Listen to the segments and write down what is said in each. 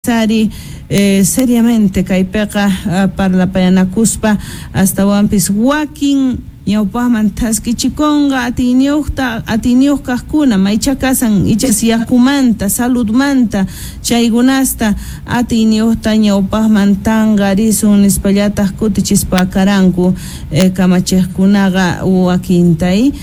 Ari seriamente kaypiqa parlapayanakuspa astawanpis wakin ñawpaqman thaskichikunqa atiyniyuqta atiyniyuq kaqkuna maycha kasan ichas yakumanta saludmanta chaykunasta atiyniyuqta ñawpaqman tanqarisun nispallataq kutichispa karanku kamachiqkunaqa wakintay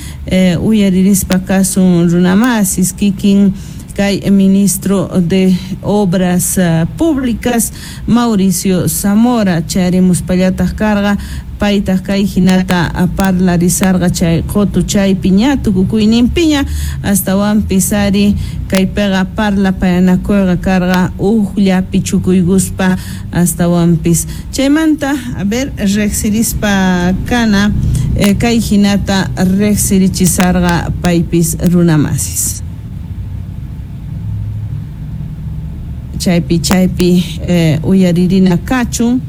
uyaririspa kasun runamasis kikin kay ministro de Obras Públicas Mauricio Zamora chayarimuspallataq karqa paytaq kay hinata parlarisarqa chay qutuchaypi ña tukukuyninpiña astawanpis ari kaypiqa parlapayanakuyqa karqa huklla pichukuykuspa astawanpis chaymanta a ver riqsirispa kana kay hinata riqsirichisarqa paypis runamasis chaypi chaypi uyaririna kachun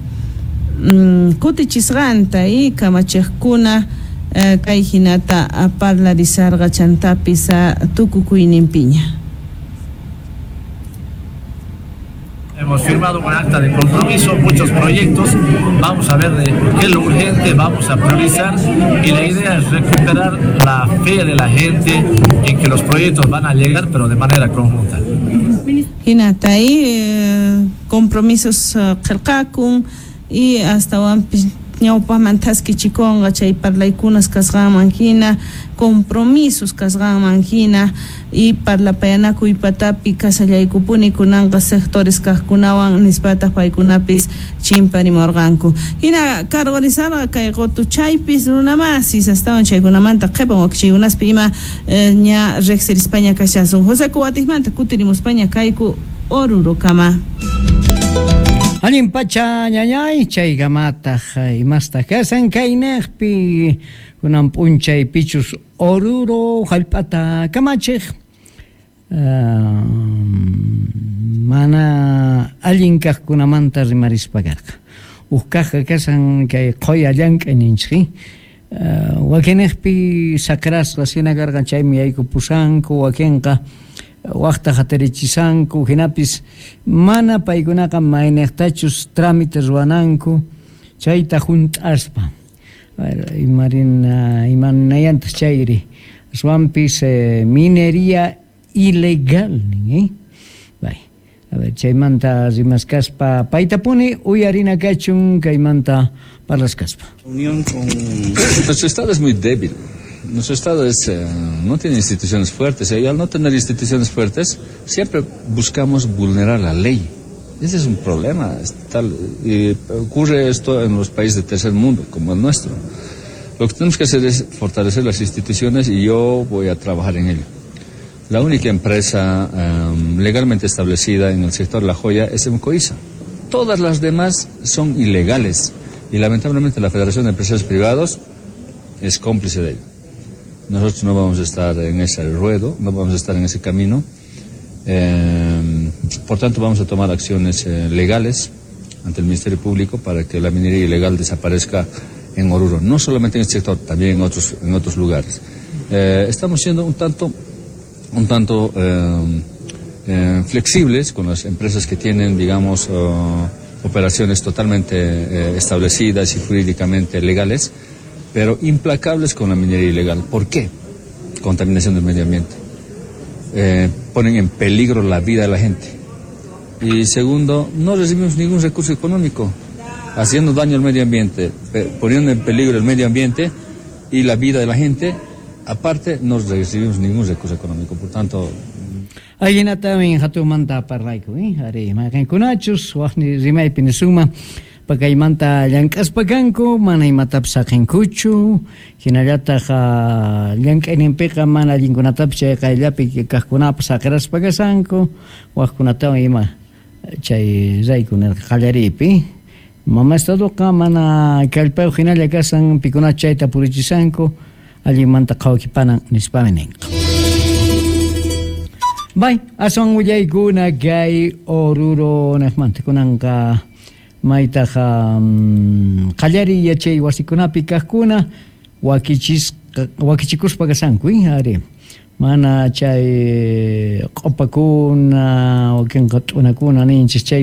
kutichisqanta y kamachiqkuna kay hinata parlarisarqa chantapis tukukuyninpiña. Hemos firmado un acta de compromiso, muchos proyectos, vamos a ver de qué es lo urgente, vamos a priorizar y la idea es recuperar la fe de la gente en que los proyectos van a llegar, pero de manera conjunta. Hinata ahí compromisos qillqakun y astawanpis ñawpaqman thaskichikunqa chay parlaykunas kasqanman hina compromisos kasqanman hina y parlapayanakuy patapi kasallaykupuni kunanqa sectores kaqkunawan nispataq paykunapis chimparimurqanku hina cargorizarqa kay qutuchaypis runamasis astawan chaykunamanta qhipan wakichiykunaspi ima ña riqsirispaña kashasun José Kuwatiqmanta kutirimuspaña kayku Orurokama. Allin pacha ñañay chaykamataq imastaq kasan kaynaqpi kunan p'unchay pichus Oruro hallp'ata kamachiq mana allin kaqkunamanta rimarispa karqa huk kaqqa kasan kay qhuya llank'ay ninchik wakinniqpi sakrasqa hina karqan chaymi yaykupusanku wakinqa waqta hatarichishanku hinapis mana paykunaqa mayniqtachus trámite ruwananku chayta hunt'aspa imarina imanayantaq chayri aswanpis minería ilegal nin bay a ver chaymanta rimaskaspa paytapuni uyarina kachun kaymanta parlaskaspa. Unión con nuestro estado es muy débil. Nuestro Estado no tiene instituciones fuertes, y al no tener instituciones fuertes, siempre buscamos vulnerar la ley. Ese es un problema. Y ocurre esto en los países de tercer mundo, como el nuestro. Lo que tenemos que hacer es fortalecer las instituciones y yo voy a trabajar en ello. La única empresa legalmente establecida en el sector de la joya es Emcoisa. Todas las demás son ilegales y lamentablemente la Federación de Empresarios Privados es cómplice de ello. Nosotros no vamos a estar en ese ruedo, no vamos a estar en ese camino. Por tanto, vamos a tomar acciones legales ante el Ministerio Público para que la minería ilegal desaparezca en Oruro, no solamente en este sector, también en otros lugares. Estamos siendo un tanto flexibles con las empresas que tienen, digamos, operaciones totalmente establecidas y jurídicamente legales, pero implacables con la minería ilegal. ¿Por qué? Contaminación del medio ambiente. Ponen en peligro la vida de la gente. Y segundo, no recibimos ningún recurso económico, haciendo daño al medio ambiente, poniendo en peligro el medio ambiente y la vida de la gente. Aparte, no recibimos ningún recurso económico, por tanto... Ayinatamin hatumanta parlayku, ari mayqinkunachus waqni rimaypi nisuma pakaymanta llank'aspa kanku mana imatapis saqinkuchu hinallataq llank'ayninpiqa mana allinkunatapis chay qayllapi kaqkunapas saqiraspa kasanku waqkunatawan ima chay rayku nirqa qallariypi mama estadoqa mana kallpayuq hinalla kasan pikuna chayta purichisanku allinmanta qhawakipanan nispami ninqa. Bay, aswan willaykuna kay Oruro niqmanta kunanqa maytaqa qallariy yachay wasikunapi kaqkuna wakichikuspa kasanku ari mana chay q'upakuna wakinqa t'unakuna ninchis chay